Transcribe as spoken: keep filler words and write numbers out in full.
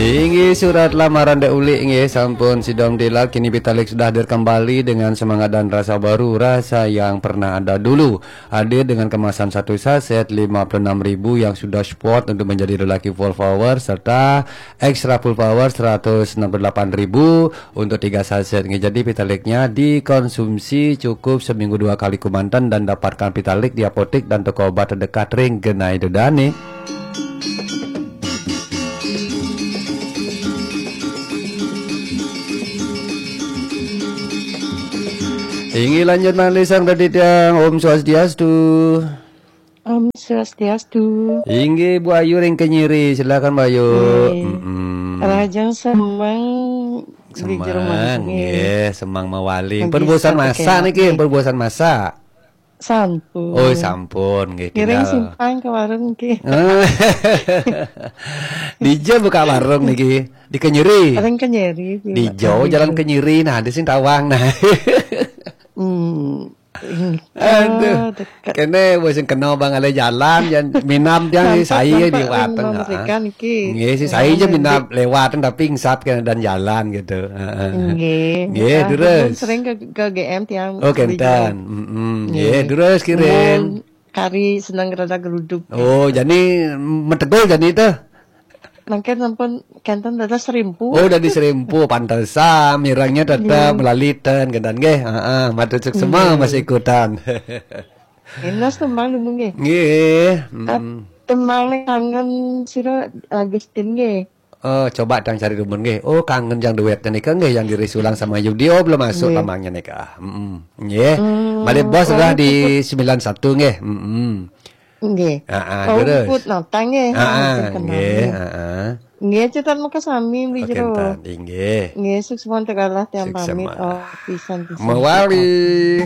Inggih, surat lamaran Dek Ulik, inggih, sampun sidom dilak. Kini Pitalik sudah hadir kembali dengan semangat dan rasa baru, rasa yang pernah ada dulu. Hadir dengan kemasan satu saset lima puluh enam ribu yang sudah support untuk menjadi lelaki full power, serta extra full power seratus enam puluh delapan ribu untuk tiga saset. Inggih, jadi Pitaliknya dikonsumsi cukup seminggu dua kali kemanten dan dapatkan Pitalik di apotek dan toko obat terdekat ring genah ida dane. Inggih, lanjut malih Sang Raditya. Om Swastiastu. Om Swastiastu. Inggih, Bu Ayu ring Kenyiri. Silakan, Bu Ayu. Nggih. Mm-mm. Rahajeng semeng, Beli Jero Manik, nggih. Nggih, semeng mawali. Nggih, pun bosan masak niki, nggih. Pun bosan masak. Sampun. Oh, sampun, nggih, ngiring tinggal simpang ke warung nggih. Dija buka warung niki? Di Kenyiri. Paling Kenyiri, Dija, Jalan Kenyiri, nah, di sing tawang, nah. Hmm. Aduh. Oh, dekat. Kene wis kena bang ale jalan, jan minam tiang. Sampun sai nampak liwat, anu, heeh. Mereka niki. Nggih, sing sai aja minam lewat, tapi ingsap kene dan jalan gitu. Heeh. Nggih. Nggih, terus. Sering ke, ke G M tiang. Oh, beli kenten. Mm-mm. Nggih, nggih. Terus kirim. Mun kari seneng rada geruduk. Oh, jadi metegul jadi itu. Mangkin sampun kenten dados serimpu. Oh, dadi serimpu, pantesan mirengnya tetep melaliten, kenten nggih. Heeh, matur suksma masih ikutan. Enos tembang dulu nggih. Nggih. Tembang ning kangen sira Agustin nggih. Eh, coba dang cari rumun nggih. Oh, kangen yang duet nika nggih yang dirisulang sama Yudi. Oh, belum masuk tambangnya nika. Heeh. Nggih. Malih bos sudah di sembilan satu nggih. Heeh. Nggih. Heeh, terus. Put notang nggih. Heeh, nggih, heeh. Nggih, cetan meka sami mriki jero. Inggih. Nggih, suksma tegalah tiang pamit. Oh, pisan, pisan. Mawali.